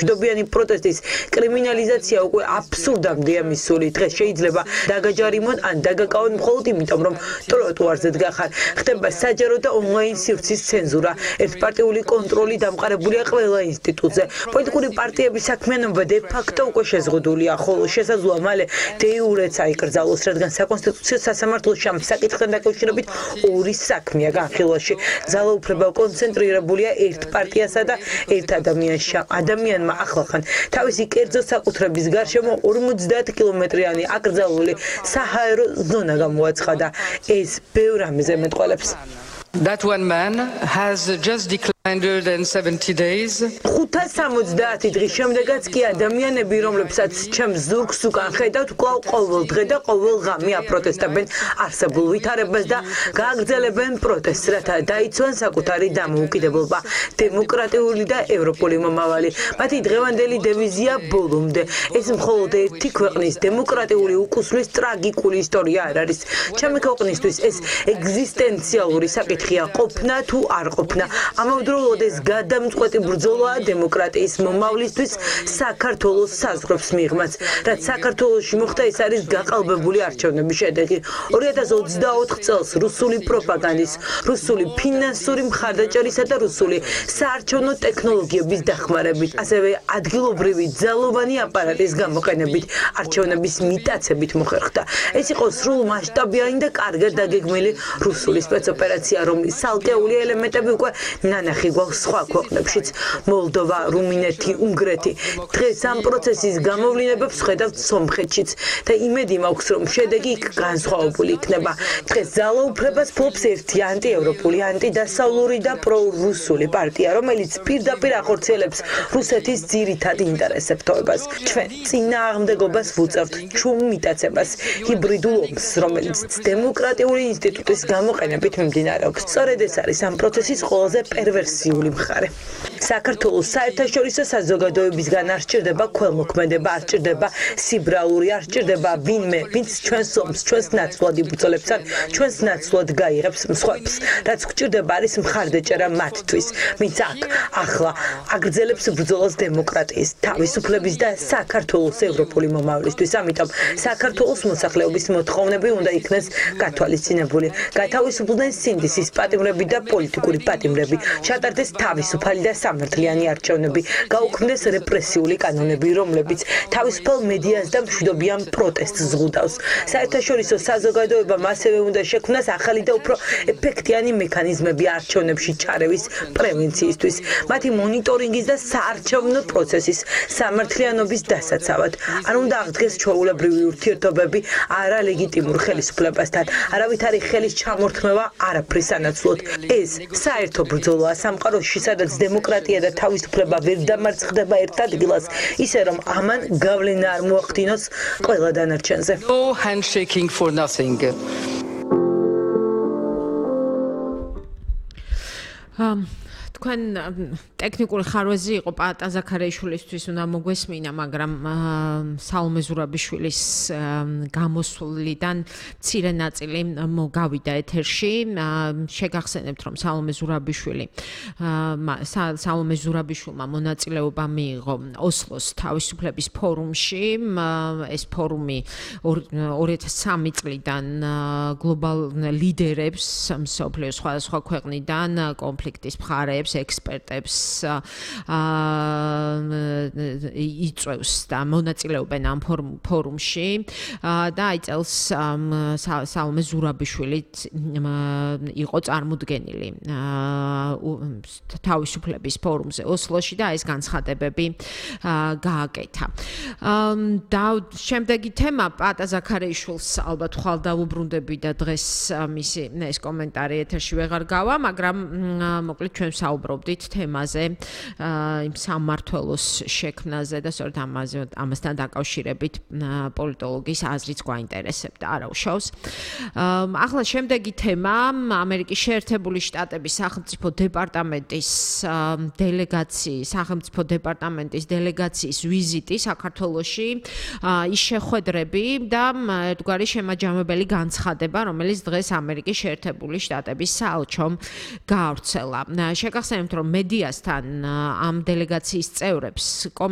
მშვიდობიანი პროტესტის კრიმინალიზაცია უკვე აბსურდამდეა მისული. დღეს შეიძლება დაგაჯარიმონ ან დაგაკავონ მხოლოდ იმიტომ, რომ ტროტუარზე დგახარ. ხდება საჯარო და ონლაინ სივრცის ცენზურა. ერთპარტიული კონტროლი დამყარებულია ყველა ინსტიტუტზე. პოლიტიკური პარტიების საქმიანობა de facto უკვე შეზღუდულია, ხოლო შესაძლოა მალე de iure-ც აიკრძალოს, რადგან საკონსტიტუციო სასამართლოში ამ საკითხთან დაკავშირებით ორი საქმეა განხილვაში. ძალაუფლება კონცენტრირებულია ერთ პარტიასა და ერთ ადამიანში. ადამიანმა ახლახან თავისი კერძო საკუთრების გარშემო 50 კილომეტრიანი აკრძალული საჰაერო ზონა გამოაცხადა. ეს ბევრ რამეზე მეტყველებს. That one man has just declared 170 days. 570 დღის შემდეგაც კი ადამიანები, რომლებსაც ჩემს ზურგს უკან ხედავთ, კვლავ ყოველ დღე და ყოველ ღამე აპროტესტებენ არსებულ ვითარებას და გააგრძელებენ პროტესტს, რათა დაიცვან საკუთარი დამოუკიდებლობა, დემოკრატიული და ევროპული მომავალი. მათი დღევანდელი დევიზია ბოლომდე. ეს მხოლოდ ერთი ქვეყნის დემოკრატიული უკუსლის ტრაგიკული ისტორია არ არის. ჩემი ქვეყნისთვის ეს ეგზისტენციალური საკითხია, ყოფნა თუ არ ყოფნა. ამავდროულად ეს გადამწყვეტი ბრძოლაა დემოკრატიის მომავლისთვის საქართველოს საზღვრებს მიღმაც. რაც საქართველოში მოხდა, ეს არის გაყალბებული არჩევნების შედეგი. 2024 წელს რუსული პროპაგანდის, რუსული ფინანსური მხარდაჭერისა და რუსული საარჩევნო ტექნოლოგიების დახმარებით, ასევე ადგილობრივი ძალოვანი აპარატის გამოყენებით, არჩევნების მიტაცებით მოხერხდა. ეს იყო სრულმასშტაბიანი და კარგად დაგეგმილი რუსული სპეცოპერაცია, რომლის ცალკეული ელემენტები უკვე ნანახი გვაქვს სხვა ქვეყნებშიც, მოლდოვა, რუმინეთი, უნგრეთი. დღეს ამ პროცესის გამოვლინებებს ხედავთ სომხეთშიც და იმედი მაქვს, რომ შედეგი იქ განსხვავებული იქნება. დღეს ძალაუფლებას ფლობს ერთი ანტიევროპული, ანტიდასავლური და პრორუსული პარტია, რომელიც პირდაპირ ახორციელებს რუსეთის ძირითად ინტერესებს. ჩვენ წინააღმდეგობას ვუწევთ ჩუმ მიტაცებას, ჰიბრიდულ ომს, რომელიც დემოკრატიული ინსტიტუტის გამოყენებით მიმდინარეობს. სწორედ ეს არის ამ პროცესის ყველაზე პერვერსიული მხარე. საქართველოს საერთაშორისო საზოგადოებისგან არ სჭირდება ქველმოქმედება, არ სჭირდება სიბრალური, არ სჭირდება ვინმე, ვინც ჩვენს ომს, ჩვენს ნაცვლად იბრძოლებს ან ჩვენს ნაცვლად გაიღებს მსხვერპლს. რაც გვჭირდება არის მხარდაჭერა მათთვის, ვინც აქ, ახლა აგრძელებს ბრძოლას დემოკრატიის, თავისუფლების და საქართველოს ევროპული მომავლისთვის. ამიტომ საქართველოს მოსახლეობის მოთხოვნები უნდა იქნეს გათვალისწინებული. გათავისუფლდნენ სინდისის პატიმრები და პოლიტიკური პატიმრები, ჩატარდეს თავისუფალი და სამართლიანი არჩევნები, გაუქმდეს რეპრესიული კანონები, რომლებიც თავისუფალ მედიას და მშვიდობიან პროტესტს ზღუდავს. საერთაშორისო საზოგადოებამ ასევე უნდა შექმნას ახალი და უფრო ეფექტიანი მექანიზმები არჩევნებში ჩარევის პრევენციისთვის, მათი მონიტორინგის და საარჩევნო პროცესის სამართლიანობის დასაცავად. არ უნდა აღდგეს ჩვეულებრივი ურთიერთობები არალეგიტიმურ ხელისუფლებასთან, არავითარი ხელის ჩამორთმევა არაფრის ანაცვლოდ. ეს საერთო ბრძოლაა სამყაროში, სადაც დემოკრატია და თავისუფლება ვერ დამარცხდება ერთ ადგილას, ისე რომ ამან გავლენა არ მოახდინოს ყველა დანარჩენზე. No handshaking for nothing. თქვენ ტექნიკური ხარვეზი იყო პაატა ზაქარიაშვილისთვის უნდა მოგვესმინა, მაგრამ სალომე ზურაბიშვილის გამოსვლიდან მცირე ნაწილი გავიდა ეთერში. შეგახსენებთ, რომ სალომე ზურაბიშვილმა მონაწილეობა მიიღო ოსლოს თავისუფლების ფორუმში. ეს ფორუმი 2003 წლიდან გლობალ ლიდერებს მსოფლიოს სხვადასხვა ქვეყნიდან კონფლიქტის მხარეებს ექსპერტებს იწვევს და მონაწილეობენ ამ ფორუმში და აი წელს სალომე ზურაბიშვილი იყო წარმოდგენილი თავისუფლების ფორუმზე ოსლოში და ეს განცხადებები გააკეთა. და შემდეგი თემა პაატა ზაქარიაშვილს ალბათ ხვალ დავუბრუნდები და დღეს მისი ეს კომენტარი ეთერში ვეღარ გავა, მაგრამ მოკლედ ჩვენ საუბრობდით თემაზე, იმ სამმართველოს შექმნაზე და სწორედ ამასთან დაკავშირებით პოლიტოლოგის აზრიც გვაინტერესებდა, არა უშავს. ახლა შემდეგი თემა ამერიკის შეერთებული შტატების სახელმწიფო დეპარტამენტის დელეგაციის ვიზიტი საქართველოში, ის შეხვედრები და ერთგვარი შემაჯამებელი განცხადება, რომელიც დღეს ამერიკის შეერთებული შტატების საელჩომ გაავრცელა. შეგახსენებთ, რომ მედიასთან ამ დელეგაციის წევრებს